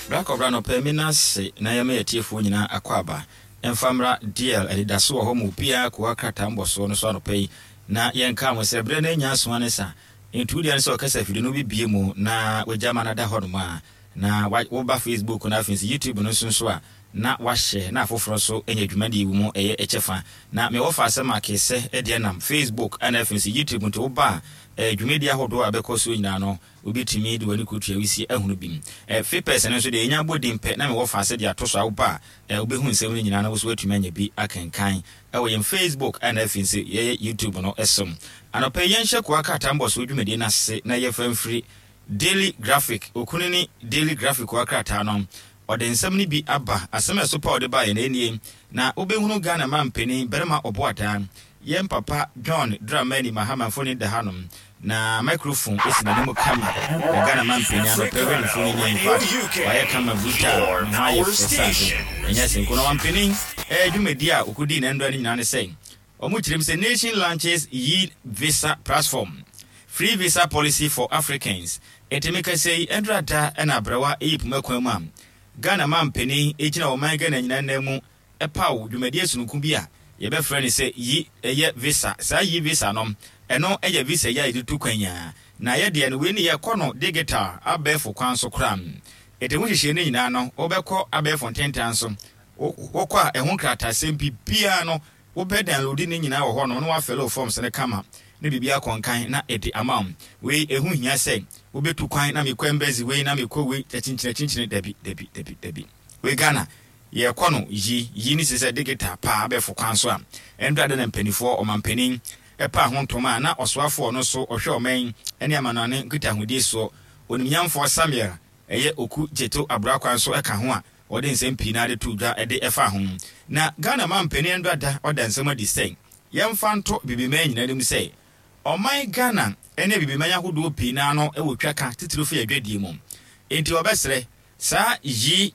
Bra kɔbra anɔpa yi me nan ase na yɛma yɛn atiefoɔ nyinaa akwaaba mfa mmra DL anidaso wɔ hɔ ma obiara kowa krataa mbɔsoɔ no so anɔpa yi na yɛnka mo sɛ berɛ no anya aso ne sa nti wo deɛ ne sɛ ɔkasa afidie no wobɛbie mu na wagya ma no ada hɔ nom a na woba Facebook no afei nso YouTube no nso nso a na wahyɛ na afoforɔ nso anya dwumadie yi mu ɛyɛ kyɛfa na me wɔfa asɛm a kesɛ deɛ nam Facebook ɛna afei nso YouTube nti woba a dwumadie ahodoɔ a ɛbɛkɔ soɔ nyinaa no Wobɛtumi de w'ani kɔtua wisie ahunu bi. Ɛ, Fipɛs no nso deɛ, yɛnya bɔ din pɛ na mewɔ fa sɛ de ato so a, woba a, ɛ, wobɛhu nsɛm no nyinaa na wo nso woatumi anya bi akenkan wɔ yɛn Facebook ɛna afei nso yɛyɛ YouTube no so. Anɔpa yi yɛnhyɛ Koa Krataa Mbɔsoɔ dwumadie no ase na yɛfa mfiri Daily Graphic, Okunini Daily Graphic Koa Krataa no. Ɔde nsɛm no bi aba. Asɛm a ɛso pa a ɔde baeɛ no, ɛnie, Na wobɛhunu Ghana mampanin, Barima Ɔboadaa, Yɛn papa John Dramani Mahama mfoni da hanom na microphone si n'anim kama wɔ Ghana manpanin anɔpa yi hwɛ ne mfoni ni infact wayɛ kama brutal ne ho ayɛ fɛ sɛ ade ɛnyɛ senko na ɔmanpanin eh dwumadi a ɔkɔdii na ndura no nyinaa ne sɛ wɔn kyerɛ mu sɛ nation launches yi visa platform free visa policy for Africans enti mekasa yi ndura da na abrɛwa yi poma kwan mu a Ghana manpanin gyina ɔman Ghana nyinaa nan mu paw dwumadie sononko bi a yɛbɛfrɛ no sɛ Yi yɛ Visa. Saa Yi Visa no, ɛno yɛ visa yi a yɛde tu kwan yi ara. Na yɛ deɛ no, wei no yɛkɔ no digital, abɛɛfo kwan so koraa. Enti ho nhyehyɛe no nyinaa no, wobɛkɔ abɛɛfo ntentan so. Wokɔ a, ɛho nkrataasɛm biribiara no, wobɛ download ne nyinaa wɔ hɔnom na woafɛle wo forms no kama na biribi akɔ nkan na ɛde ama wo. Wei, ɛho hia sɛ wobɛtu kwan na mekɔ embassy wei na mekɔ wei, akyinkyini akyinkyini, dabi, dabi, dabi, dabi. Wei Ghana, Yɛkɔ no yi yi ne sesɛ digital paa abɛɛfo kwan so a, ɛndra da na mpaninfoɔ, ɔmanpanin, paa ho ntoma a na ɔsoafoɔ ɔno nso ɔhwɛ ɔman ne amanoane nkitahodie soɔ, Onimnyamfoɔ Samuel ɛyɛ Oku Gyeto Aburakwa nso ka ho a ɔde nsɛm pii no ara de too dwa de faa ho. Na Ghana manpanin ɛndra da ɔda nsɛm adi sɛ yɛmfa nto Abibiman nyinaa anim sɛ ɔman Ghana ne Abibiman ahodoɔ pii no ara no wɔ twaka titiriw fa yɛn adwadie mu enti ɔbɛsrɛ saa yi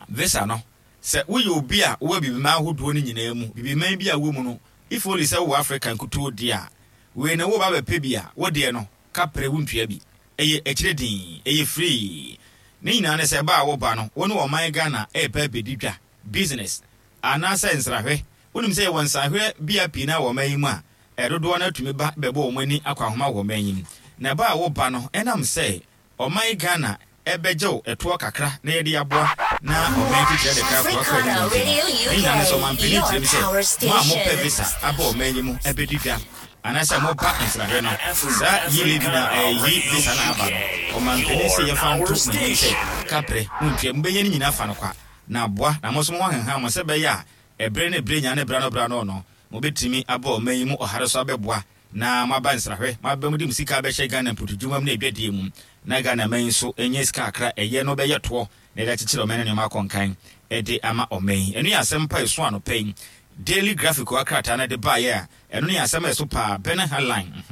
Visa no, sɛ woyɛ obi a wowɔ Abibiman ahodoɔ no nyinaa mu, Bibiman bi a wowɔ mu no, if only sɛ wowɔ Africa nkutoo deɛ a, wei no woreba abɛpɛ bi a, wo deɛ no, kaprɛ wontua bi. Ɛyɛ akyire dinn, ɛyɛ free. Ne nyinaa ne sɛ ba a woba no, wo ne ɔman Ghana reba abɛdi dwa, business, anaasɛ nsrahwɛ. Wonim sɛ yɛwɔ nsrahwɛ bea pii no ara wɔ ɔman yi mu a, dodoɔ no ara tumi ba bɛbɔ wɔn ani akɔ ahoma wɔ ɔman yi mu. Na ba a woba no, ɛnam sɛ Ɔman Ghana bɛgye wo ɛtoɔ kakra na yɛde aboa na ɔman titire de kra kɔ akɔ anim nti no, ne nyinaa ne sɛ ɔmanpanin kyerɛ mu sɛ mo a mopɛ visa aba ɔman yi mu bɛdi dwa anaasɛ moba nsrahwɛ no, saa yi levy no a yi visa no a aba no, ɔmanpanin se yɛmfa nto mo anim sɛ kaprɛ montua, mobɛnya ne nyinaa fa no kwa na aboa na mo nso mo ho ahenhan mo sɛ ɛbɛyɛ a ɛberɛ ne berɛ nyinaa ne berɛ ano berɛ ano no mobɛtumi aba ɔman yi mu ɔhare so abɛboa na moaba nsrahwɛ, moaba mu de mo sika abɛhyɛ Ghana mpotudwuma mu ne adwadie mu, na Ghana man yi nso anya sika kakra a ɛyɛ no bɛyɛ toɔ na yɛde akyekyere ɔman no nneɛma akɔ nkan de ama ɔman yi. Ɛno yɛ asɛm pa a ɛso anɔpa yi Daily Graphic wɔ krataa no de baeɛ a ɛno ne asɛm a ɛso paa, Burning Headline,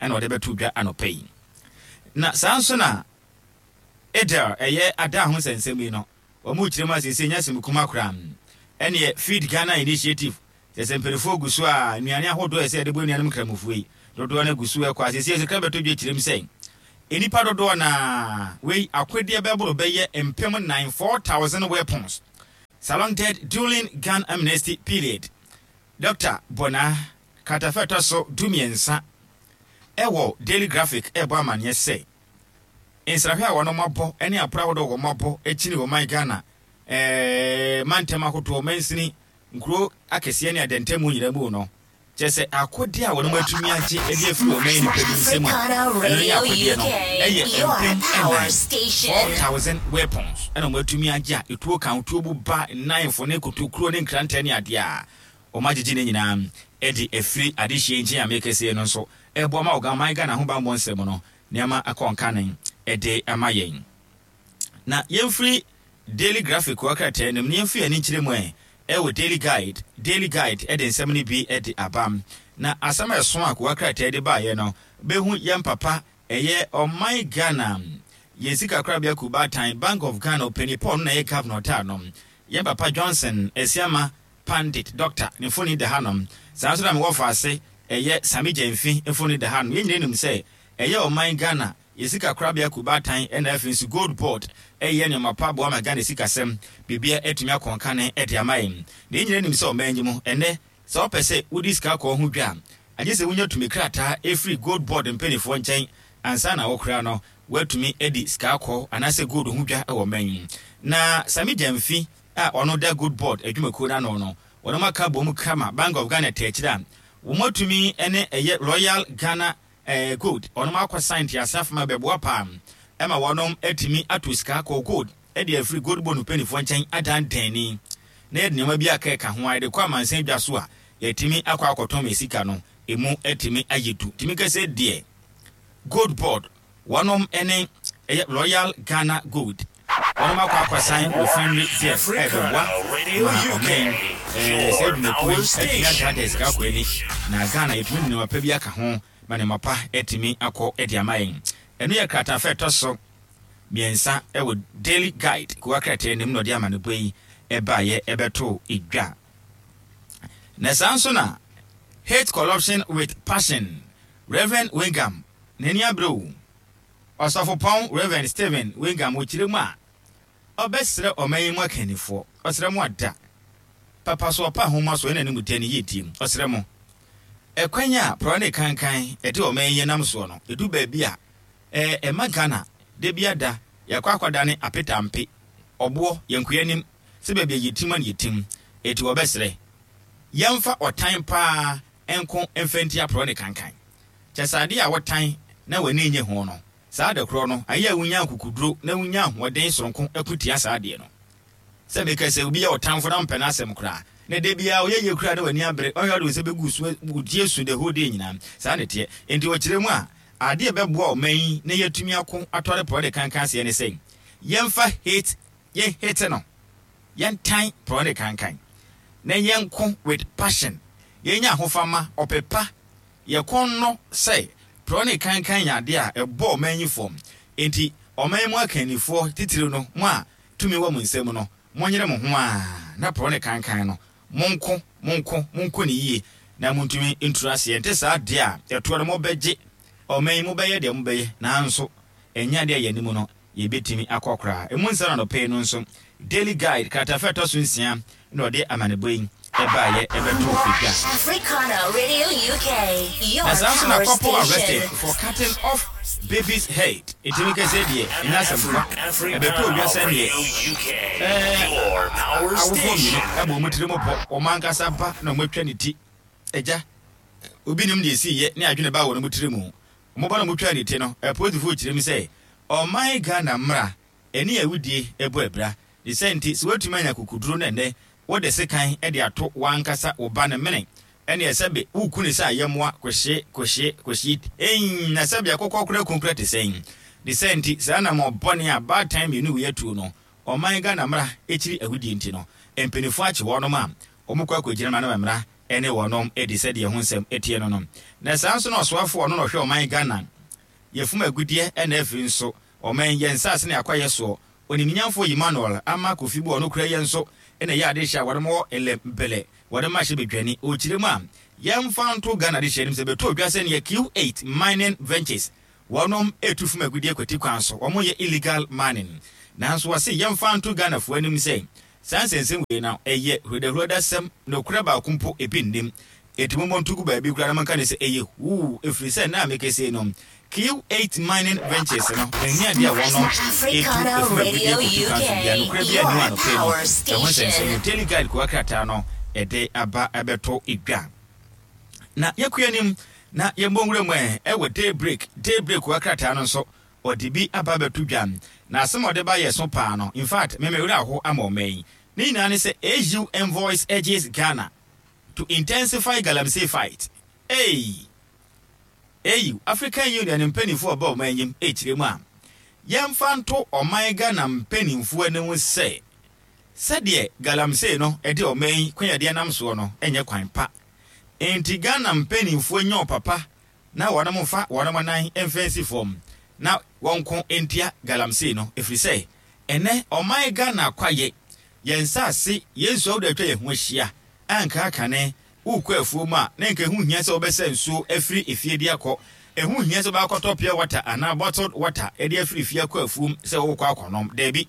ɛna ɔde bɛto dwa anɔpa yi. Na saa nso na Edel ɛyɛ ada ho nsɛnsɛm yi no, wɔn rekyerɛ mu a seesei nyɛ asɛm kuma koraa. Ɛneɛ Feed Ghana Initiative Kyerɛ sɛ mpanimfoɔ gu so a nnuane ahodoɔ a ɛsɛ yɛde bɔ anuanom nkramofoɔ yi dodoɔ no gu so ɛkɔ a seesei sika bɛtɔ dwa kyerɛ mu sɛ nnipa dodoɔ no ara wei akodeɛ bɛboro bɛyɛ 4000, 4,000 weapons salonted during gun amnesty period. Dɔkta Bonah kratafa ɛtɔ so 13 ɛwɔ Daily Graphic ɛrebɔ amaneɛ sɛ nsrahwɛ a wɔnom abɔ ne apra ahodoɔ a wɔn abɔ akyini ɔman Ghana ɛɛ mantam ahodoɔ mansini Nkuro akɛseɛ ne adantamu nyinaa mu no, kyerɛ sɛ akodeɛ a wɔnom atumi agye de afiri ɔman nnipa bi nsam a ɛno ne akodeɛ no yɛ 4000, 4,000 weapons ɛna wɔn atumi agye a etuo ka ho, tuo bu ba, nnanfo ne kotokuro ne nkrantɛ ne adeɛ a wɔn agyegye ne nyinaa de afiri adehyeɛ nkyɛn a mekɛseɛ no nso ɛboa ma ɔman Ghana ho bammɔ nsɛm no nneɛma akɔ nkane de ama yɛn. Na yɛmfiri Daily Graphic wɔ krataa no mu na yɛmfa yɛn ani nkyerɛ mu ɛ wɔ Daily Guide, Daily Guide de nsɛm no bi de aba. Na asɛm a ɛso a kowa krataa de baeɛ no bɛhu yɛn papa ɛyɛ ɔman Ghana yɛn sikakorabea kuo baatan Bank of Ghana ɔpanin Paul no na ɛyɛ governor ɔtaa no yɛn papa Johnson Asiama Pandit Doctor ne mfoni da hanom. Saa nso na mewɔ faase ɛyɛ Sami Gyamfi mfoni da hanom. Yɛn nyinaa nim sɛ ɛyɛ ɔman Ghana. Yɛ sika korabea kubaatan ɛna afei nso Gold Board ɛyɛ nneɛma pa boa ma Ghana sikasɛm biribiara atumi akɔ nkane de ama yɛn. Na yɛn nyinaa nim sɛ ɔman yi mu ɛnnɛ sɛ wopɛ sɛ wodi sika kɔɔ ho dwa a, agye sɛ wonya tumi krataa ɛfiri Gold Board mpaninfoɔ nkyɛn ansa na wo koraa no woatumi adi sika kɔɔ anaasɛ gold ho dwa wɔ ɔman yi mu. Na Sammy Gyamfi a ɔno da Gold Board adwumakuo no ano no, wɔnom aka abom kama Bank of Ghana te akyire a wɔatumi ne ɛyɛ Royal Ghana Gold wɔnom akɔ sign ntease afam a ɛbɛboa paa ma wɔnom atumi ato sika kɔɔ gold de afiri gold bond mpaninfoɔ nkyɛn adan dɛnni na yɛde nneɛma bi aka ɛka ho a yɛde kɔ amansan dwa so a yɛatumi akɔ akɔtɔn ma sika no emu atumi ayɛ du. Tumi kɛsɛ deɛ Gold Board wɔnom ne ɛyɛ Royal Ghana Gold wɔnom akɔ akɔsan refinery deɛ a ɛbɛboa ma ɔman ɛɛ saa adwumakuo yi atumi adaadaa sika akɔ ani na Ghana yɛtumi de nneɛma pa bi aka ho ma nneɛma pa atumi akɔ de ama yɛn. Ɛno yɛ kratafa ɛtɔ so mmiɛnsa ɛwɔ Daily Guide kowa krataa anim na ɔde amanebɔ yi ɛbaeɛ ɛbɛtoo edwa. Na saa nso na Hate Corruption with Passion Rev. Wingham n'ani abere o. Ɔsɔfopɔn Rev. Stephen Wingham wɔ kyerɛ mu a ɔbɛsrɛ ɔman yi mu akannifoɔ, ɔsrɛ mo ada papa so ɔpa nhoma so ɛna ne mu dɛ ne yiedie mu, ɔsrɛ mo. Ɛkwan a porɔe ne kankan ɛde ɔman yi nam soɔ no, ɛdu baabi a ɛɛ ɛma Ghana da bi ada yɛakɔ akɔdane apetampe, ɔboɔ, yɛnkoa anim sɛ baabi a yɛtim a na yɛtim, enti wɔbɛsrɛ yɛmfa ɔtan paa nko mfa ntia porɔe ne kankan. Kyɛ sɛ adeɛ a wotan na w'ani nnye ho no, saa ade korɔ no, ayɛ a wunya akokoduro na wunya ahoɔden soronko ko tia saa adeɛ no. Sɛ meka sɛ obi yɛ wo tamfo na wompɛ n'asɛm koraa, na da biara ɔyɛ yie koraa na w'ani abere, ɔhwɛ a wode wo nsa bɛgu so, wogye su the whole day nyinaa. Saa na ɛteɛ. Enti ɔkyerɛ mu a, adeɛ a ɛbɛboa ɔman yi na yɛatumi ako atɔre porɔe ne kankan aseɛ ne sɛ, yɛmfa hate, yɛn hate no. Yɛntan porɔe ne kankan, na yɛnko with passion, yɛnya ahofama, ɔpɛ pa, yɛ kɔn nnɔ sɛ porɔe ne kankan yɛ adeɛ a ɛbɔ ɔman yi fam. Enti ɔman yi mu akannifoɔ, titiriw no mo a tumi wɔ mo nsam no, monyere mo ho ara na porɔe ne kankan no, monko, monko, monko no yie na montumi nturu aseɛ. Ɛnte saa deɛ a, ɛtoɔ no mobɛgye ɔman yi, mobɛyɛ deɛ mobɛyɛ, nanso ɛnyɛ adeɛ a yɛn anim no yebetumi akɔ koraa. Emu nsɛm anɔpa yi no nso, Daily Guide kratafa a ɛtɔ so nsia na ɔde amanebɔ yi baeɛ bɛtoo dwa. Africana Radio UK, your Na saa nso na power couple arrested station. for cutting off baby's head. Enti meka sɛ deɛ, ɛnyɛ asɛm kwa. Ɛbɛtɔɔ dwa sɛ neɛ ɛɛ awofoɔ mmienu abɔ wɔn tirim pɔ, wɔn ankasa ba na wɔatwa ne ti. Agya, obi nim deɛ ɛsiiɛ ne adwene baa wɔn tiri mu. Wɔn ba no a wɔtwaa ne ti no, apolisifo kyerɛ mu sɛ ɔman Ghana mmara ne awudie bɔ abira. Ne saa nti, sɛ woatumi anya akokoduro na ɛnnɛ wode sekan de ato w'ankasa wo ba no mene, ɛnneɛ sɛbe woreku no sɛ ayɛmmoa kɔhye, kɔhye, kɔhye eii, na sɛbe akokɔ koraa ku koraa te sɛn? Ne saa nti, saa anammɔn bɔne a baatan mmienu wei atuo no, ɔman Ghana mmara kyiri awudie nti no, mpanimfoɔ akye wɔnom a wɔkɔ akɔgyina mmara no ma mmara ne wɔnom di sɛdeɛ ɛho nsɛm teɛ no no. Na saa nso na ɔsoafoɔ a ɔno na ɔhwɛ ɔman Ghana yɛfum agudeɛ ɛna afiri nso ɔman yɛn nsaase ne akwaeɛ soɔ Onimnyamfoɔ Emmanuel Ama Kofi Buah ɔno kura yɛ nso na ɛyɛ adehyeɛ a wɔnom wɔ Elem Bele wɔde ma hyɛ badwani ɔkyerɛ mu a yɛmfa nto Ghana adehyeɛ anim sɛ bɛtɔ dwa sɛdeɛ Q8 Mining Ventures wɔnom ɛtu fum agudeɛ kwati kwan so wɔn yɛ illegal mining nanso wɔse yɛmfa nto Ghanafoɔ anim sɛ Saa nsɛnsɛm wei no, ɛyɛ hurudahurudasɛm, nokorɛ baako mpo ebi nnim. Enti mommɔ nto gu baabi koraa na monka no sɛ ɛyɛ huu, ɛfiri sɛ nna a mekasa yi no, Q8 Mining Ventures no, ɛnyɛ adeɛ a wɔnom ɛtu ɛfam agudeɛ kɔtu kwan so biara, nokorɛ biara nni hɔ anɔpa yi no, ɛho nsɛnsɛm no, Daily Guide kowa krataa no ɛde aba abɛto dwa. Na yɛkɔ anim na yɛmmɔ nwura mu ɛ, ɛwɔ Daybreak, Daybreak kowa krataa no nso, Ɔde bi aba abɛto dwa. Na asɛm a ɔde ba yɛ so paa no, in fact, me me werɛ aho ama ɔman yi. Ne nyinaa ne sɛ AU envoys urges Ghana to intensify galamsey fight. Ei! AU, African Union mpaninfoɔ ɔba ɔman yi mu rekyerɛ mu a, yɛmfa nto ɔman Ghana mpaninfoɔ anim sɛ, sɛdeɛ galamsey no de ɔman yi kwan a yɛde nam soɔ no nyɛ kwan pa. Enti Ghana mpaninfoɔ nyɛ ɔpapa na wɔnom mfa wɔnom nan mfa nsi fam na wɔnko ntia galamsey no ɛfiri sɛ ɛnɛ ɔman Ghana kwaye, yɛn nsaase, yɛn nsuo ahodoɔ a atwa yɛn ho ahyia a nka kane worekɔ afuo mu a na nka ɛho nhia sɛ wobɛsa nsuo afiri efie de akɔ. Ɛho nhia sɛ wobɛakɔtɔ pure water anaa bottled water de afiri fie akɔ afuom sɛ worekɔ akɔnom. Dabi.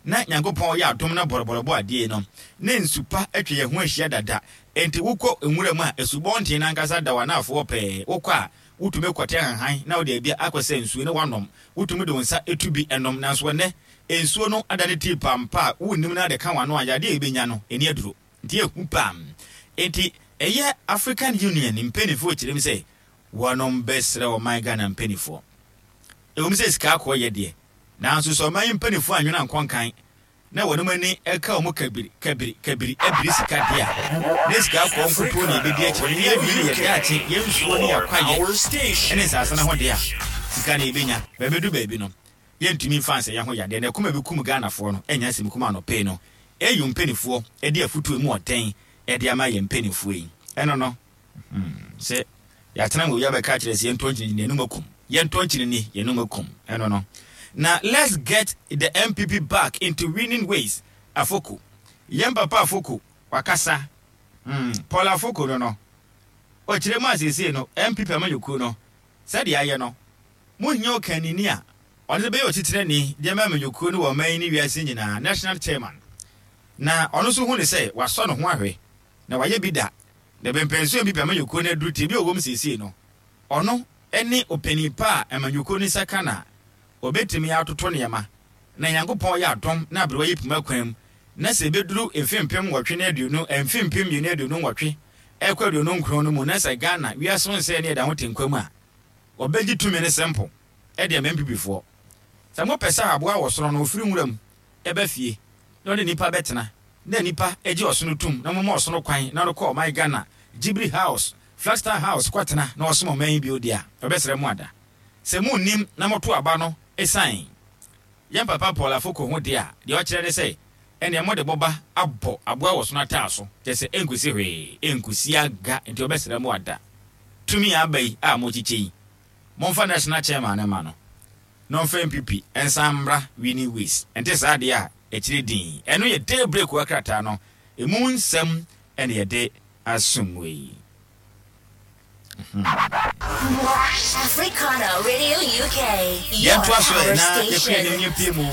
Na Nyankopɔn yɛ adom na bɔrɔbɔrɔ bɔ adeɛ no, na nsu pa atwa yɛn ho ahyia dada. Enti wokɔ nwura mu a, asubɔnten no ankasa da w'anaafoɔ pɛɛ. Wokɔ a, wotumi kɔte ahahan na wode abi akɔsa nsuo na woanom. Wotumi de wo nsa tu bi nom. Nanso ɛnnɛ, nsuo no adane tii pampa a wonnim na ade ka w'ano a, yadeɛ a wobɛnya no, ɛnni aduro. Nti ɛhu paa. Enti ɛyɛ African Union mpaninfoɔ kyerɛm sɛ wɔnom bɛsrɛ ɔman Ghana mpaninfoɔ. Ɛwom sɛ sika akɔɔ yɛ deɛ, nanso sɛ ɔman yi mpaninfoɔ annwene ankɔ nkan na wɔnom ani ka wɔn kabiri, kabiri, kabiri abiri sika deɛ a, na sika akɔɔ nkutoo na yɛbɛdi akyire na yɛawie ne yɛn daakye, yɛn nsuo ne yɛn akwaeɛ ne nsaase no ho deɛ a, sika na yɛbɛnya. Bɛbɛdu baabi no, yɛntumi mfa nsɛ yɛn ho yadeɛ na ɛkɔm a ɛbɛkum Ghanafoɔ no ɛnyɛ asɛm kumaa anɔpa yi no AU mpaninfoɔ de afutuo emu ɔden de ama yɛn mpaninfoɔ yi ɛno no hmm, sɛ yɛatena mu obi abɛka akyerɛ sɛ yɛntɔ nkyene ni yɛnum akum yɛntɔ nkyene ni yɛnum akum ɛno no na let's get the NPP back into winning ways. Afoko yɛn papa Afoko wakasa hmm, Paul Afoko no no ɔkyerɛ mu a seesei no NPP amanyɔkuo no sɛdeɛ ayɛ no Mohia ɔkannini a ɔno nso bɛyɛ otitenani de ama amanyɔkuo no wɔ ɔman yi ne wiase nyinaa, National Chairman. Na ɔno nso hu no sɛ wasɔ ne ho ahwɛ, na wayɛ bi da, na bɛmpɛnsoɔ NPP amanyɔkuo no aduru tebea a ɔwɔ mu seesei no, ɔno ne ɔpanin pa a amanyɔkuo no nsa ka no a ɔbɛtumi atoto nneɛma, na Nyankopɔn yɛ adom na aberewa yi poma kwan mu, na sɛ ɛbɛduru mfe 2020, mfe 2028 ɛrekɔ 29 no mu na sɛ Ghana, wiase ho nsɛe ne ɛda ho te nkwa mu a, Wɔbɛgye tumi no simple de ama NPP foɔ. Sɛ mo pɛ sɛ aboa a ɔsono no ɔfiri nwura mu ba fie na ɔne nipa bɛtena na nipa gye ɔsono tum na mo ma ɔsono kwan na ɔno kɔ ɔman Ghana Jibri house Flagstaff house kɔ tena na ɔsom ɔman yi bio deɛ a ɔbɛsrɛ mo ada. Sɛ mo nnim na mo to aba no ɛsiane yɛn papa Paul Afoko ho deɛ a deɛ ɔkyerɛ ne sɛ ɛneɛ mo de boba abɔ aboa wɔ ɔsono ataaso kyerɛ sɛ ɛnkosi hwee ɛnkosi aga nti ɔbɛsrɛ mo ada. Tumi a aba yi a mokyekyɛ yi, momfa national chairman no mma no na ɔmfa NPP nsan mmra winning ways. Ɛnte saa deɛ a, akyire dinn. Ɛno yɛ day break wɔ krataa no ɛmu nsɛm na yɛde asom mo yi. Africana Radio UK, your Yɛntoa so ɛ power na yɛkɔ yɛn anim station. yɛmpie mu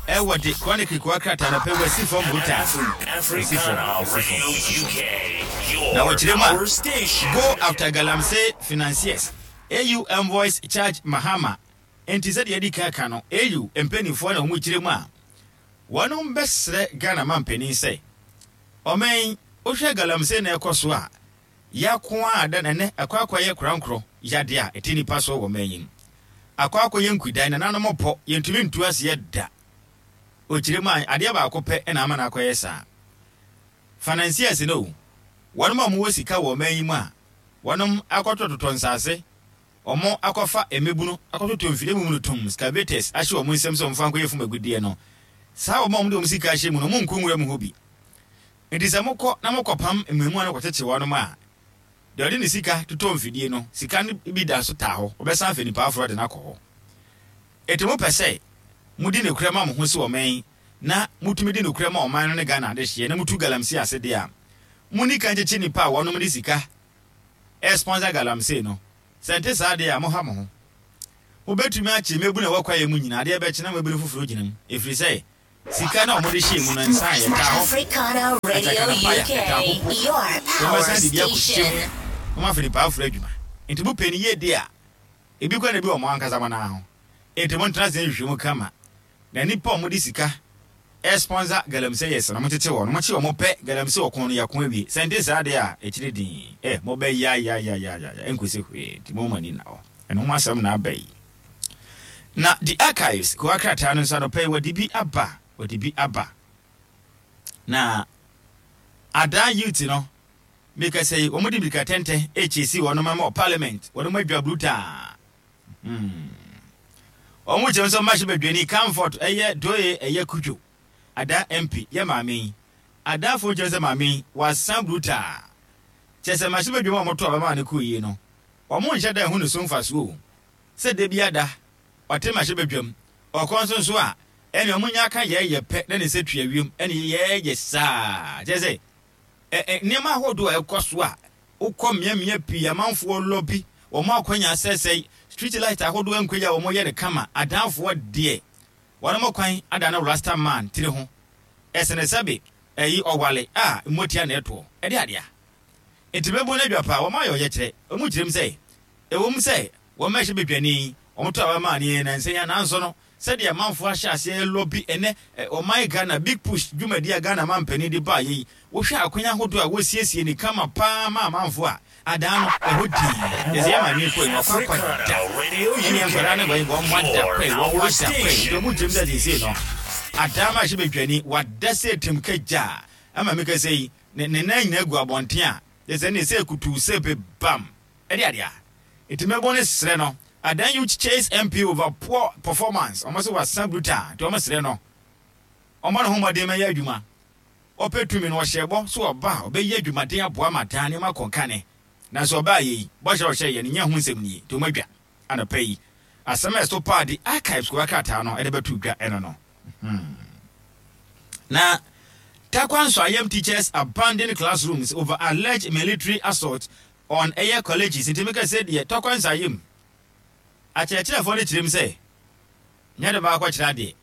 ɛwɔ de Chronicle kowa krataa no pɛ wasi fam brutal. Wasi fam, wasi fam, wasi fam. Na wɔkyerɛ mu a, go after galamsey financiers, AU envoys charge Mahama. Enti sɛdeɛ yɛadi kan aka no, AU mpanimfoɔ na wɔn kyerɛ mu a, wɔnom bɛsrɛ Ghana mampanin sɛ, ɔman yi, wohwɛ galamsey na ɛkɔ so a, yako a da na ɛnɛ akɔ akɔyɛ korankorɔ yadeɛ a ɛte nnipa soɔ wɔ ɔman yi mu. Akɔ akɔyɛ nkudan, nananom pɔ, yɛntumi ntu aseɛ da. Ɔkyerɛ mu a, adeɛ baako pɛ na ama no akɔyɛ saa. Financiers no o, wɔnom a wɔwɔ sika wɔ ɔman yi mu a, wɔnom akɔtotɔtotɔ nsase, wɔn akɔfa mmabunu akɔtotɔ mfidie mumunu tum, excavators, ahyɛ wɔn nsam sɛ wɔmfa nkɔyɛ fam agudeɛ no, saa wɔn a wɔde wɔn sika ahyɛ mu no, wɔn nkɔ nwura mu hɔ bi. Enti sɛ mokɔ na mokɔpam mmaamua no kɔkyekye wɔnom a, deɛ ɔde ne sika totɔ mfidie no, sika no bi da so taa hɔ, ɔbɛsan afa nipa aforɔ de no akɔ hɔ. Enti mopɛ sɛ modi nokorɛ ma mo ho sɛ ɔman yi, na motumi di nokorɛ ma ɔman no ne Ghana adehyeɛ na motu galamsey ase deɛ a, monni kan nkyekye nnipa a wɔnom de sika responsor galamsey no. Sɛ ɛnte saa deɛ a, moha mo ho. Mobɛtumi akye mmabunu a ɛwɔ kwaeɛ mu nyinaa, adeɛ bɛkye na mmabunu foforɔ gyina mu, ɛfiri sɛ sika no a wɔde hyɛɛ mu no nsa a yɛtaa hɔ, Africana Radio atakanapaya, UK, ɛtaa hɔ po. your power Wɔbɛsan de bi akɔhyɛ mu station. na wɔafa nnipa aforɔ adwuma. Enti mopɛ no yie deɛ a, ebi koraa na ebi wɔ mo ankasa mo nan ho. Enti montena ase nhwehwɛ mu kama. Na nnipa a wɔde sika responsor galamseyers no, montete wɔn. Mokye wɔn pɛ, galamsey ɔko no, yɛako awie. Sɛ ɛnte saa deɛ a, akyire dinn, eh, mobɛyayayayaya, ɛnkɔsi hwee. Enti momma mo ani nna hɔ. Ɛno ho asɛm na aba yi. Na The Archives kowa krataa no nso anɔpa yi wɔde bi aba, wɔde bi aba. Na Adaa youth no, mekasa yi, wɔde mmirika tɛntɛ ɛkyesi wɔn ma wɔ parliament, wɔn adwa brutaa. Hmm. Wɔn kyɛm sɛ ɔmahyɛ badwani Comfort ɛyɛ Doye ɛyɛ Kudwo. Adaa MP yɛ maame yi. Adaafoɔ kyerɛ sɛ maame yi wasan brutaa. Kyerɛ sɛ mahyɛ badwam a wɔto abama ne kɔɔ yie no, wɔn nhyɛ da nhu ne so mfasoɔ o. Sɛ da bi ada ɔte mmarahyɛbadwam, ɔkɔ nso nso a, ɛne ɔmo nya aka yɛɛyɛ pɛ na ne nsa tua wiem ɛne yɛɛyɛ saa. Kyerɛ sɛ, ɛ ɛ nneɛma ahodoɔ a ɛkɔ so a wokɔ mmeammea pii amanfoɔ lɔbi, wɔn akwanya asɛesɛe. Street light ahodoɔ nkɔ yie a wɔn yɛ no kama. Adanfoɔ deɛ wɔnom kwan ada no rasta man tiri ho. Ɛsene sɛbe ɛyi ɔwale a mmotia na ɛtoɔ. Ɛde adeɛ a. Enti mɛbɔ no adwa paa. Wɔn ayɛ ɔyɛkyerɛ. Wɔn kyerɛ mu sɛ ɛwom sɛ wɔn mmɛhyɛ badwani yi, wɔn to aba maa no yɛn nnansa yi ara nanso no sɛdeɛ amanfoɔ ahyɛ aseɛ lobby ɛnɛ ɔman Ghana big push dwumadie a Ghana mampanin de baeɛ yi, wohwɛ akwan ahodoɔ a wɔsiesie no kama paa ma amanfoɔ a, adaa no ɛhɔ dinn. Yɛsɛ yɛn maame kɔe no wakɔ akɔ da ɛneɛ nkwadaa no wɔn wɔn ada kɔe wɔn ada kɔe nti wɔn gyem sɛ seesei no adaa ma ahyɛ badwani wada sɛ tim kagya ama meka sɛ yi ne ne nan nyinaa gu abɔnten a yɛsɛ ne sɛ kutuu sɛ bebam ɛde adeɛ a Enti mɛbɔ ne srɛ no. Adan youth chase MP over poor performance ɔmo se wasa brutal nti ɔmo srɛ no ɔmmɔ ne ho mmɔden mɛyɛ adwuma. Ɔpɛ tumi no ɔhyɛɛ bɔ so ɔba a ɔbɛyɛ adwumaden aboa ma daa nneɛma akɔ nkane. Nanso ɔbaa yɛ yi bɔhyɛ a ɔhyɛɛ yɛ no nyɛ ho nsɛm nie nti ɔmo adwa anɔpa yi. Asɛm a ɛso paa de archives kowa krataa no de bɛto dwa ɛno no. Hmm. Na Tarkwa Nsoayem teachers abandon classrooms over alleged military assault On ɛyɛ colleges nti meka sɛ deɛ tɔkɔ nsa yam. Akyerɛkyerɛfoɔ no kyerɛ mu sɛ nyɛ de baakɔ kyerɛ adeɛ.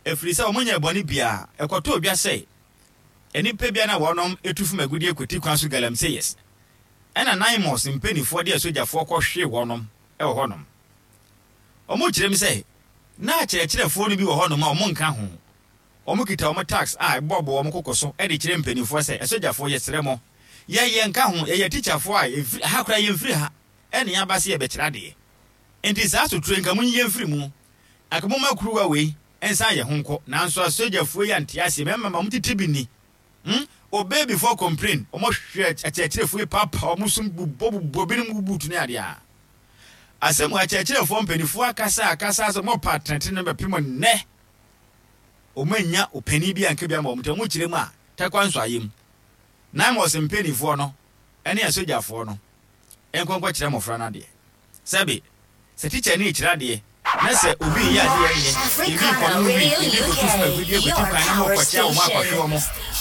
Ɛfiri sɛ wɔn nyɛɛ bɔne biara. Ɛkɔtɔɔ dwa sɛ nnipa bi a na wɔnom tu fam agudeɛ kɔti kwan so galamseyers ɛna Naimos mpaninfoɔ de asogyafoɔ kɔ hwee wɔnom wɔ hɔnom. Wɔn kyerɛ mu sɛ na akyerɛkyerɛfoɔ no bi wɔ hɔnom a wɔn nka ho. Wɔkita wɔn tags a ɛbobɔbobɔ wɔn koko so de kyerɛ mpanimfoɔ sɛ, Asogyafoɔ, yɛsrɛ mo, yɛn yɛnka ho, yɛyɛ tikyafoɔ a yɛmfiri ha koraa, yɛmfiri ha na yɛaba sɛ yɛbɛkyerɛ adeɛ. Enti saa asotire yi, nka monyi yɛn mfiri mu. Anka momma kuruwa wei nsan yɛn ho nkɔ. Nanso asogyafoɔ yi ante aseɛ, mmarima ma wɔtete bi nni. Hmm? Obey before complain. Wɔhwɛ akyerɛkyerɛfoɔ yi paapaa wɔn so bobɔbobɔ binom buutu ne adeɛ a. Asɛm wɔ akyerɛkyerɛfoɔ mpanimfoɔ akasa akasa sɛ wɔpɛ atenetene no bɛpem nnɛ. Wɔannya ɔpanin bi anka bi ama wɔn nti wɔkyerɛ mu a, Tarkwa Nsoayem, Naimos mpaninfoɔ no ne asogyafoɔ no nkɔ nkɔkyerɛ mmɔfra no adeɛ. Sɛbe, sɛ tikyani rekyerɛ adeɛ na sɛ obi reyɛ adeɛ a ɛnyɛ, ebi rekɔnom wii, ebi rekɔtu fam agudeɛ kɔti kwan na morekɔkyea wɔn akɔhwe wɔn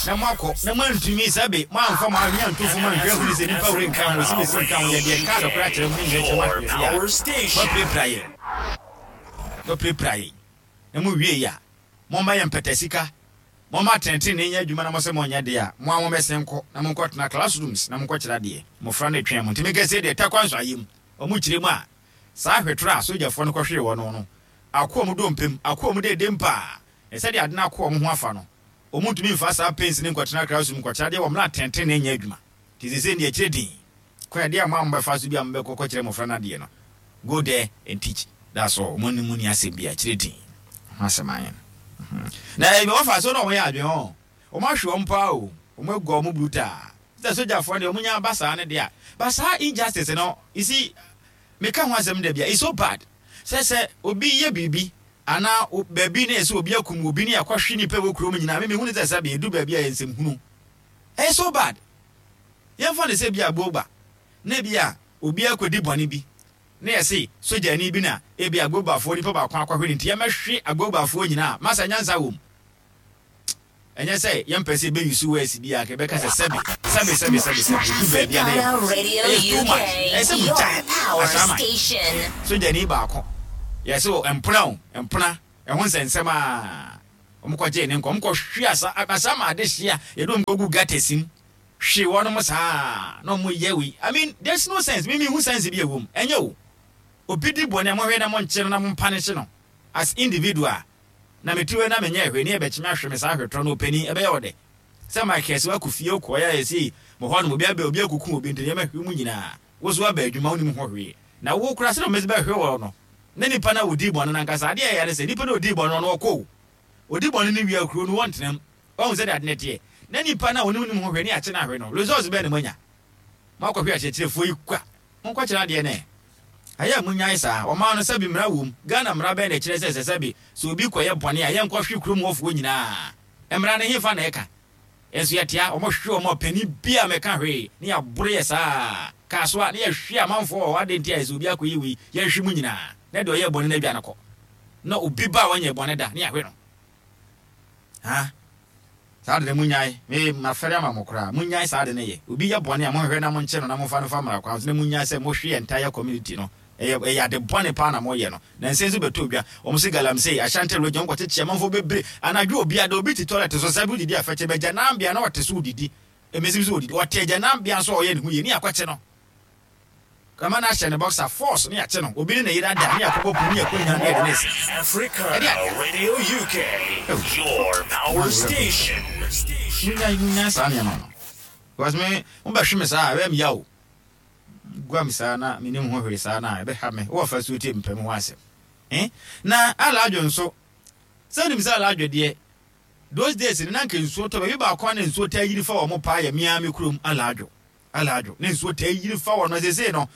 na moakɔ na moantumi, sɛbe, moamfa mo adwene anto fam anhwɛ anhunu sɛ nipa wei nka ho, osimesi nka ho, yɛde yɛn kaa nokorɛ akyerɛ mo ne nyina kyerɛ mo ahwɛ adeɛ a, moapirapira yɛn. Moapirapira yɛn. Na mo wiei a, momma yɛn mpata sika, momma atɛntrenee nyɛ adwuma na mose monyɛ deɛ a, mo ara mommɛsen nkɔ na monkɔtena classrooms na monkɔkyerɛ adeɛ. Mmofra no retwɛn mo. Nti meka sei deɛ, Tarkwa nso ayɛ mu. Wɔn kyerɛ mu a, saa hwetorɔ a sogyafoɔ no kɔhwee wɔn no, ako wɔn dompe mu, ako wɔn deedem paa. Na sɛdeɛ ade no ako wɔn ho afa no, wɔntumi mfa saa pains no nkɔtena classroom nkɔkyerɛ adeɛ wɔ mmerɛ a atɛntrenee nyɛ adwuma. Nti seesei deɛ kyerɛ din. Kwan a ɛdeɛ a mo a mobɛfa so bi a mobɛkɔ kɔkyerɛ mmɔfra no adeɛ no, go there and teach, that's all, wɔn ne mo nni asɛm biara, kyerɛ din ho asɛm ayɛ no. Na ɛyi wɔfa so na wɔn yɛ adwene hɔ, wɔn ahwe wɔn paa o, wɔn agua wɔn brutal. Sɛ sogyafoɔ deɛ wɔn nya aba saa no deɛ a, but saa injustice no, you see, meka ho asɛm da bia, it's so bad. Sɛ sɛ obi yɛ biribi anaa baabi na yɛsɛ obi akum obi ne yɛakɔhwe nipa wɔ kurom nyinaa, me mehu ne sɛ sɛ bɛɛdu baabi a yɛ nsɛm hunu. Ɛyɛ so bad. Yɛmfa no sɛ ebia Agboba na ebia obi akɔdi bɔne bi na yɛse sogyani bi na ebia Agbobafoɔ nipa baako akɔhwe no nti yɛmmɛhwe Agbobafoɔ nyinaa. Masa nyansa wom. Ɛnyɛ sɛ yɛmpɛ sɛ yɛbɛ use words bi a anka yɛbɛka sɛ sɛbe, sɛbe, sɛbe, sɛbe, sɛbe, ɛdu baabi a na yɛ Africana Radio ɛyɛ too much. UK, Ɛyɛ sɛ your mugyae power Asaman. station. Sogyani baako yɛse o mpena o, mpena, ɛho nsɛnsɛm a wɔkɔgyee ne nkwa, wɔkɔhwe asa, Asaman adehye a yɛde wɔn kɔgu gutters mu. Hwe wɔnom saa na ɔmo yɛ wei I mean there's no sense me menhu sense bi a ɛwɔ mu ɛnyɛ o obi di bɔne a monhwɛ na monkye no na mo punish no as individual na mete hɔ yi na menyɛɛ hwee ne yɛbɛkye me ahwe me saa ahwetorɔ no ɔpanin ɛbɛyɛ wo dɛ sɛ Michael sɛ wakɔ fie wokɔeɛ a yɛsei mo hɔ nom obi abɛ obi akuku obi nti nneɛma hwe mu nyinaa wo so aba adwuma wonim ho hwee na wo koraa sɛdeɛ wɔbɛsi bɛhwe wɔ no na nipa no a ɔdii bɔne no ankasa adeɛ a ɛyɛ ne sɛ nipa no a ɔdii bɔne no ɔno ɔkɔ o ɔdi bɔne no wie a kuro no wɔntena mu Wahu sɛdeɛ ade no teɛ? Na nipa no a ɔne wonim ho hwɛ ne akye no ahwe no, results bɛn na moanya? Moakɔhwe akyerɛkyerɛfoɔ yi kwa. Monkɔkyerɛ adeɛ no ɛ. Ayɛ a monyae saa. Ɔman no, sɛbe mmara wom. Ghana mmara bɛn na ɛkyerɛ sɛ sɛ sɛbe sɛ obi kɔyɛ bɔne a yɛnkɔhwe kurom hɔfoɔ nyinaa? Mmara no hefa na ɛka? Nso yɛtea, wɔhwe wɔn a ɔpanin biara mmɛka hwee, ne yɛaboro yɛ saa. Kasoa, ne yɛhwe amanfoɔ wɔ hɔ, adɛn nti a sɛ obi akɔyɛ wei, yɛnhwe mo nyinaa? Na deɛ ɔyɛɛ bɔne no adwane kɔ. Na obi ba a ɔnyɛɛ bɔne da, ne yɛahwe no. Ha? Saa ade no munnyae. Me, mafɛre ama mo koraa. Munnyae saa ade no yɛ. Obi yɛ bɔne a, monhwehwɛ na monkye no na momfa no mfa mmara kwan so, na munnyae sɛ mohwe entire community no. Ɛyɛ ɛyɛ ade bɔne paa na moyɛ no. Nansa yi nso bɛtɔ dwa. Wɔn se galamsey, Ashanti region, wɔn kɔkyekye amanfoɔ bebree. Anadwo obi ada, obi te toilet so, saa bi wodidi afɛkyɛ, bɛgyananbea na ɔte so wodidi. Mmesi bi so wodidi. Ɔte agyananbea nso a ɔyɛ ne ho yie ne yɛakɔkye no. Kama no ahyɛ ne boxer force ne yɛakye no. Obi ne ne yere ada ne yɛakɔbɔ pon ne yɛakɔ nya ne yɛde ne se. Africana Ɛde adeɛ. Radio UK, Oh. your power station. Munyae munyae saa nneɛma no. Because me mobɛhwe me saa a ɛbɛyɛ me ya o. Gua me saa na menim ho hwee saa na ɛbɛha me. Wowɔ fa suo tie mepɛ me ho asɛm. Eh? Na Alaadwo nso, sɛ wonim sɛ Alaadwo deɛ, those days no na anka nsuo tɔ baabi baako a na nsuo taa yiri fa wɔn paa yɛ me ara me kurom Alaadwo. Alaadwo, na nsuo taa yiri fa wɔn. Seesei no,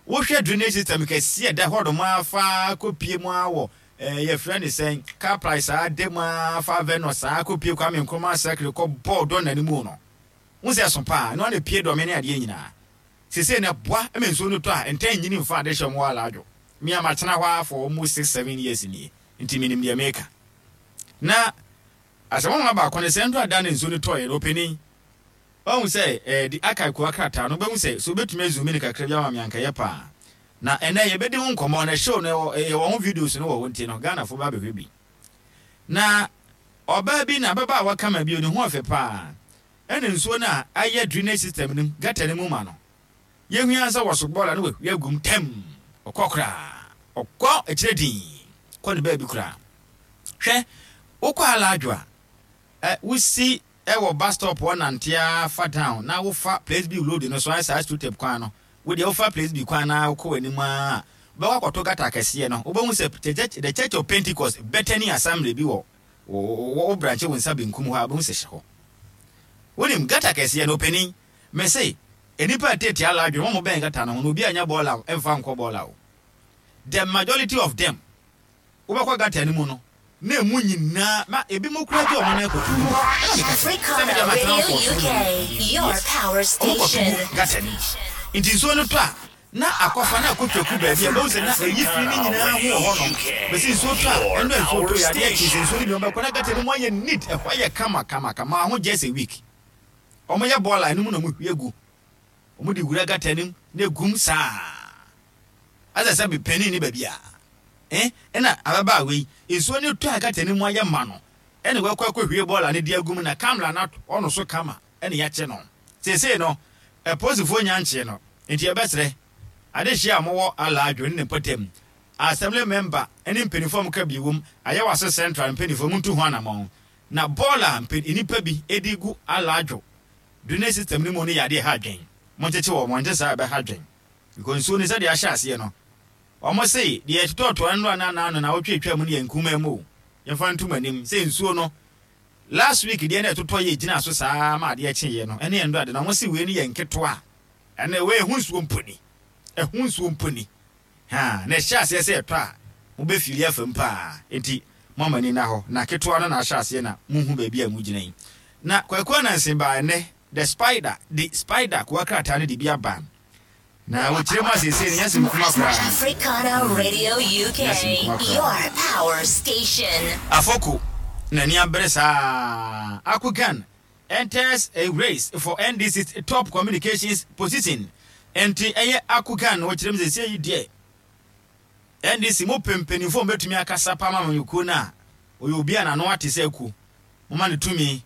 wohwɛ drainage system kɛseɛ ɛda hɔ nom ara fa kɔpie mu ara wɔ eh, yɛfrɛ ne sɛn, car price saa da mu ara fa Venus saa kɔpie Kwame Nkrumah Circle kɔ bɔɔ dɔn no mu no. Wohu sɛ ɛso paa, ɛno ara na epie dɔme ne adeɛ nyinaa. Seesei no ɛboa ma nsuo no tɔ a, ntaa nnyini mfa ade hyɛ wɔn wɔ alaadwo. Me a matena hɔ ara for almost six, seven years nie, nti menim deɛ mereka. Na asɛm nwanwa baako ne sɛ, ndora da na nsuo no tɔeɛ no, ɔpanin, wahu sɛ eh, di archive kowa krataa no, wobɛhu sɛ, sɛ wobɛtumi azoom no kakra bi ama me anka ɛyɛ paa. Na ɛnnɛ yɛbɛdi ho nkɔmmɔ, na show no ɛwɔ, yɛwɔ ho videos no wɔ hɔ nti no, Ghanafoɔ bɛba abɛhwɛ bi. Na ɔbaa bi na ababaawa kama bi, ne ho ɔfɛ paa. Ɛna nsuo no a ayɛ drainage system no mu, gutter no mu ma no. Yɛhui ara sɛ wɔso bɔɔla no wahwie agu mu tɛm. Ɔkɔ koraa. Ɔkɔ akyire dinn. Kɔ ne baabi koraa. Hwɛ, wokɔ Alaadwo a, ɛ, wosi wɔ bus stop hɔ nante ara fa down na wofa Place B road no so, ayɛ saa street kwan no. Wo deɛ wofa Place B kwan no ara wokɔ w'anim ara a, wobɛkɔ akɔto gutter kɛseɛ no. Wobɛhu sɛ The Church of Pentecost Bethany Assembly bi wɔ Wo wo branche wo nsa benkum hɔ a wobɛhu sɛ hyɛ hɔ. Wonim gutter kɛseɛ no ɔpanin? Mese nnipa a ɛteetea ala adwene wɔn bɛn gutter no ho no obi anya bɔɔla mfa nkɔ bɔɔla o. The majority of them wobɛkɔ gutter no mu no na emu nyinaa ma ebi mo kura gye wɔn nan kɔto gu. Ɛna meka sɛ sɛ medeɛ Africana matena Radio hɔ for so UK, many your years. power Wɔn kɔto station. gu gutter no mu. Nti nsuo no tɔ a Na akɔfa na akɔtwa ku baabi a ɛbɛhu sɛ na ɛyi fi no nyinaa ho wɔ hɔnom. Bɛsi nsuo tɔ a, ɛno a nsuo tɔ yi adeɛ kye sɛ nsuo no bi wɔbɛkɔ na gutter no mu ayɛ neat, ɛhɔ ayɛ kama kama kama ho just a week. Wɔyɛ bɔɔla ɛno mu na wɔhwie gu. Wɔde wura gutter no mu na egum saa. Asɛ sɛ panin ne baabi a. Eh, ɛna ababaawa yi, nsuo no tɔ a gutter no mu ayɛ ma no, ɛna wakɔ akɔhwie bɔɔla no de agu mu na kamla no atɔ no so kama. ɛna yɛakye no. Seesei no, apolisifoɔ nnya nkyee no, enti yɛbɛsrɛ adehyeɛ a mowɔ Alaadwo ne ne mpɔtam, Assembly member ne mpanimfoɔ a moka bi wom, Ayawaso Central mpanimfoɔ montu ho anamɔn. Na bɔɔl a mpa nnipa bi de gu Alaadwo drainage system no mu no yɛ adeɛ a ɛha adwen. Monkyekye wɔn, ɛnte saa a ɛbɛha adwen. Because nsuo no sɛdeɛ ahyɛ aseɛ no, wɔn se deɛ ɛtotɔɔtoa nnora ne anaa no naawɔtwe atwa mu no yɛ nkumaa mu o. Yɛmfa nto mo anim sɛ nsuo no Last week deɛ na ɛtotɔ yɛ gyina so saa ma adeɛ kyeeɛ no ɛne ɛndɔ ade na wɔn se wei no yɛ nketewa ɛnɛ wei ɛho nsuo mpo ni ɛho nsuo mpo ni haa na ɛhyɛ aseɛ sɛ ɛtɔ a mo bɛ fili afa mu paa enti mo ama ni na hɔ na ketewa no na ahyɛ aseɛ na mo hu baabi a mo gyina yi na Kwaku Ananse baa ɛnɛ the spider the spider kowa krataa no de bi aba Na wɔkyerɛ mu a seesei no nyɛ asɛm kuma koraa. Africana Radio UK, Nyɛ asɛm kuma koraa. your power station. Afoko n'ani abere saa. Akugan enters a race for NDC's top communications position. Enti ɛyɛ Akugan na wɔkyerɛ mu seesei yi deɛ NDC mo pɛ mpanyinfoɔ a wɔbɛtumi akasa pa ama amanyɔkuo no a ɔyɛ obi a n'ano ate sɛ akuo. Momma no tumi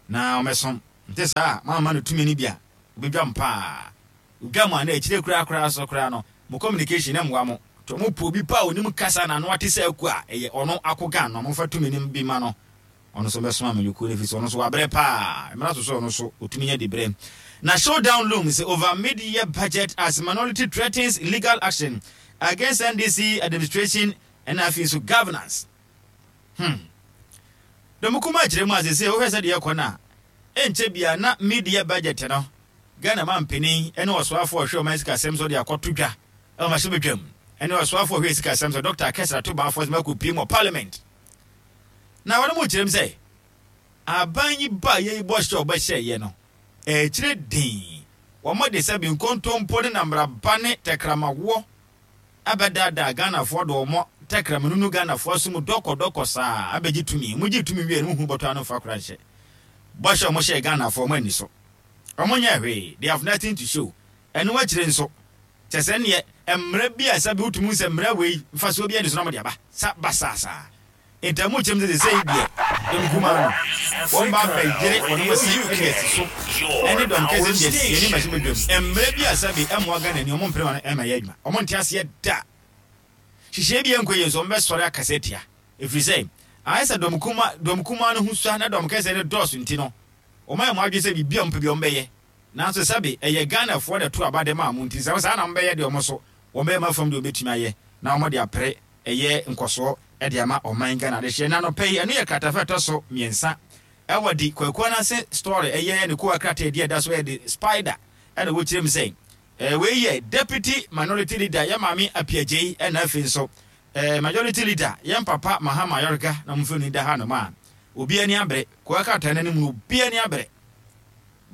na ɔmmɛsom. Nte saa a moamma no tumi no bi a obedwam paa. Odwam a na akyire koraa koraa so koraa no mo communication no mmoa mo. To mo pɛ obi pa a onim kasa na ano ate sɛ aku a ɛyɛ ɔno akogan no momfa tumi no bi ma no ɔno nso mmɛsoma amanyɔkuo no efisɛ ɔno nso wabrɛ paa. Mmara so sɛ ɔno nso otumi nya dibrɛ. Na showdown looms over mid-year budget as minority threatens legal action against NDC administration ɛna afei nso governance. Hmm. Dɔm kumaa kyerɛ mu a seesei wohwɛ sɛdeɛ ɛkɔ no a, ɛnkyɛ biara na mid-year budget no, Ghana mampanin ne ɔsoafoɔ a ɔhwɛ ɔman sikasɛm so de akɔto dwa wɔ mmarahyɛbadwam ne ɔsoafoɔ a ɔhwɛ sikasɛm so Dɔkta Akesra Tobaa Forbes akɔpue mu wɔ parliament. Na wɔn mu kyerɛ mu sɛ aban yi ba yɛ yi bɔhyɛ a ɔbɛhyɛeɛ no, ɛkyerɛ den. Wɔde sɛbe nkontompo ne nambraba ne tɛkrɛmawoɔ abɛdaadaa Ghanafoɔ de wɔn tɛkrɛma nunu Ghanafoɔ aso mu dɔkɔdɔkɔ saa abɛgye tumi. Wɔn gyee tumi wieɛ no wɔn hunu bɔtɔ ano mfa kora nhyɛ. Bɔhyɛ a wɔn hyɛɛ Ghanafoɔ wɔn anni so. Wɔn nyɛɛ hwee. They have nothing to show. Ɛno akyire nso, Kyerɛ sɛ ɛnneɛ mmara bi a sɛbe wotumi hu sɛ mmara wei mfasoɔ biara nni so na wɔde aba sa basaa saa. Ntamu kyɛm sɛ seesei deɛ dɔm kumaa no wɔn ba abɛyere wɔn ase de asi so ɛne dɔm kɛseɛ no de asi yɛn anim badwam. Mmara bi a sɛbe ɛmmoa Ghanani wɔn mpene ma no ɛmma ɛyɛ adwuma. Wɔn nte aseɛ da. Nhyehyɛeɛ bi a ɛnkɔ yie nso wɔn bɛsɔre akasa atia. Ɛfiri sɛ ayɛ sɛ dɔm kuma dɔm kumaa no ho sua na dɔm kɛseɛ no dɔɔso nti no wɔn ayɛ wɔn adwene sɛ biribi a wɔn pɛ biara wɔn bɛyɛ. Nanso sɛbe ɛyɛ Ghanafoɔ na ɛto aba de maa mo nti sɛ saa na mobɛyɛ deɛ wɔn nso wɔbɛyɛ mo afam deɛ wɔbɛtumi ayɛ na wɔde apere ɛyɛ nkɔsoɔ de ama ɔman Ghana adehyeɛ. Na anɔpa yi ɛno yɛ kratafa ɛtɔ so mmiɛnsa ɛwɔ de Kwaku Ananse story ɛyɛ ne kowa krataa ɛdi ɛda so ɛyɛ de Spider ɛna wɔkyerɛ mu sɛ ɛɛ wei yɛ Deputy Minority Leader yɛ maame Appiah Gyei ɛna afei nso ɛɛ Majority Leader yɛn papa Mahama Ayɔrega na wɔn mfoni da ha nom a obi ani abere kowa krataa no anim no obi ani abere.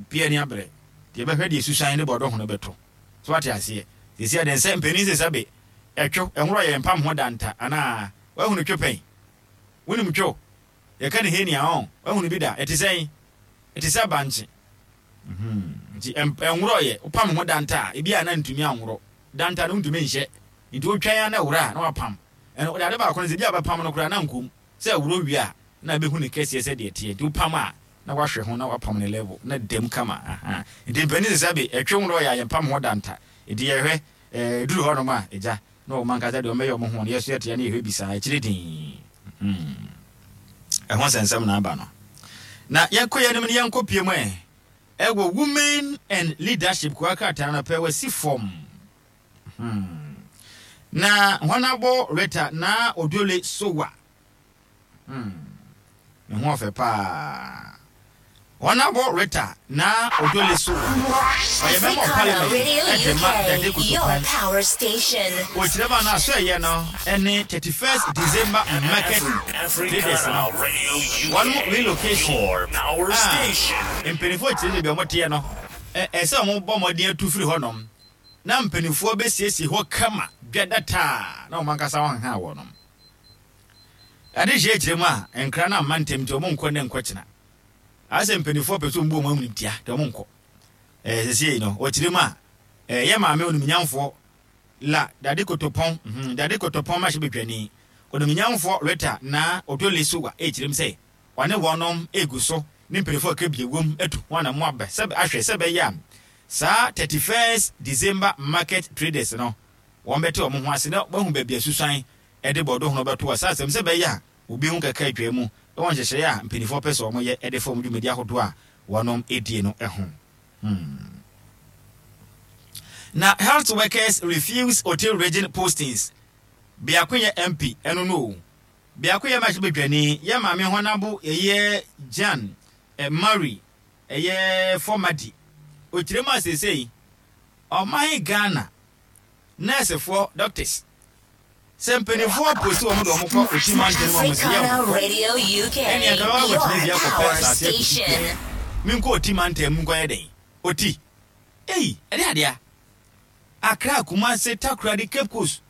Obiara ani abere. Deɛ ɛbɛhwɛ deɛ susuan ne bɔdɔ ho no bɛto. So wate aseɛ? Seesei adeɛ nsɛ mpanin se sɛbe ɛtwo, ɛnworɔ yɛ mpam ho danta anaa? Woahunu two pɛn? Wonim two? Yɛka ne henia ɔn? Woahunu bi da? Ɛte sɛn? Ɛte sɛ bankye. Mhm. Nti ɛnworɔ yɛ, wopam ho danta a, ebi a na ntumi anworɔ. Danta no wontumi nhyɛ. Nti wotwɛn a na ɛworɔ a na wapam. Ɛno, wode ade baako no sɛ ebi a wobɛpam no koraa na nkom. Sɛ ɛworɔ wie a, na ɛbɛhu ne kɛseɛ sɛdeɛ ɛteɛ. Nti wopam a, na wahwɛ ho na wapam ne level na dam kama ahaa nti mpanin sɛ sɛbe ɛtwe wo na ɔyɛ a yɛmpam ho da nta nti yɛhwɛ ɛɛ duru hɔ nom a agya na wɔn ankasa deɛ wɔbɛyɛ wɔn ho no yɛso yɛte ya na yɛhwɛ bi saa akyire dinn hmm ɛho nsɛnsɛm na aba no na yɛnkɔ yɛn anim no yɛnkɔ pie mu ɛ ɛwɔ women and leadership kwa krataa no pɛ wasi fam hmm na wɔn abɔ reta na odole sowa Hmm. Ne ho ɔfɛ paa. Honourable Rita Naa Odole Sowah, ɔyɛ Member of Africana Parliament Radio de ma Dade UK, your Kotopon. power station. Ɔkyerɛ mu a na asoɛeɛ no ne 31st December Market Traders no Africana Radio wɔn UK, relocation your power a station. mpanimfoɔ kyerɛ baabi a wɔteɛ no, ɛsɛ sɛ wɔbɔ mmɔden atu firi hɔnom na mpanimfoɔ bɛsiesie hɔ kama dwa dataa na wɔn ankasa wɔnha wɔnom. Adehyeɛ kyerɛ mu a, nkra no amma ntɛm nti wɔn nkɔ nnɛ nkɔ kyena. Ayɛ sɛ mpaninfoɔ pɛ sɛ wɔn bu wɔn animtia nti wɔn nkɔ. Ɛɛ sɛsei no, wɔkyerɛ mu a, ɛɛ yɛ maame onimnyamfoɔ La Dade Kotopɔn, mhm, Dade Kotopɔn mmarahyɛbadwani, onimnyamfoɔ Rita Naa Odole Sowah ɛrekyerɛ mu sɛ ɔne wɔnom ɛregu so ne mpaninfoɔ a ɛka bi ɛwom atu ho anamɔ abɛ sɛ ahwɛ sɛ ɛbɛyɛ a saa 31st December market traders no wɔn bɛte wɔn ho ase na wɔahu baabi a susuan de bɔdɔ hono bɛto asase mu sɛ ɛbɛyɛ a obi ho kɛkɛ atwaa mu wɔ nhyehyɛe a mpanyimfoɔ pɛ sɛ wɔyɛ de fa wɔn dwumadi ahodoɔ a wɔnom die no ho. Hmm. Na health workers refuse Oti region postings. Biako yɛ MP, ɛno no o. Biako yɛ mmarahyɛbadwani, yɛ maame Hɔnabo, ɛyɛ Jan eh, Murray, ɛyɛ Fɔmadi. Okyerɛ mu a seesei, ɔman Ghana, nɛɛsefoɔ, doctors, Sɛ mpaninfoɔ posti wɔn de wɔn kɔ Oti mantam mu a wɔn se yɛn Africana nkɔ. Radio UK, Ɛnneɛ nka mɛba your akɔtena dua akɔpɛ power asase akɔsi station. kua. Menkɔ Oti mantam mu nkɔyɛ dɛn? Oti? Ei, ɛde adeɛ a. Accra, Kumasi, Takoradi, Cape Coast,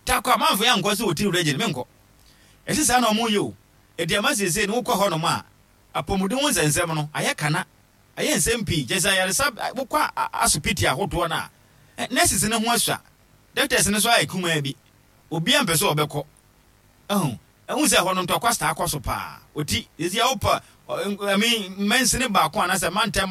Tarkwa, mamfa yɛn ankɔ sɛ Oti region, menkɔ. Ɛse saa na wɔn yɛ o. Enti ama seesei no wokɔ hɔnom a, apɔmuden ho nsɛnsɛm no, ayɛ kana. Ayɛ nsɛm pii. Kyerɛ sɛ ayaresa, wokɔ asopiti ahodoɔ no a, nurses no ho asua. Doctors no nso ayɛ kumaa bi. Obiara mpɛ sɛ ɔbɛkɔ. Ahu? Ahu sɛ ɛhɔ no ntɔkwa saa kɔ so paa. Oti, sisi a wopɛ, I mean, mansini baako anaasɛ mantam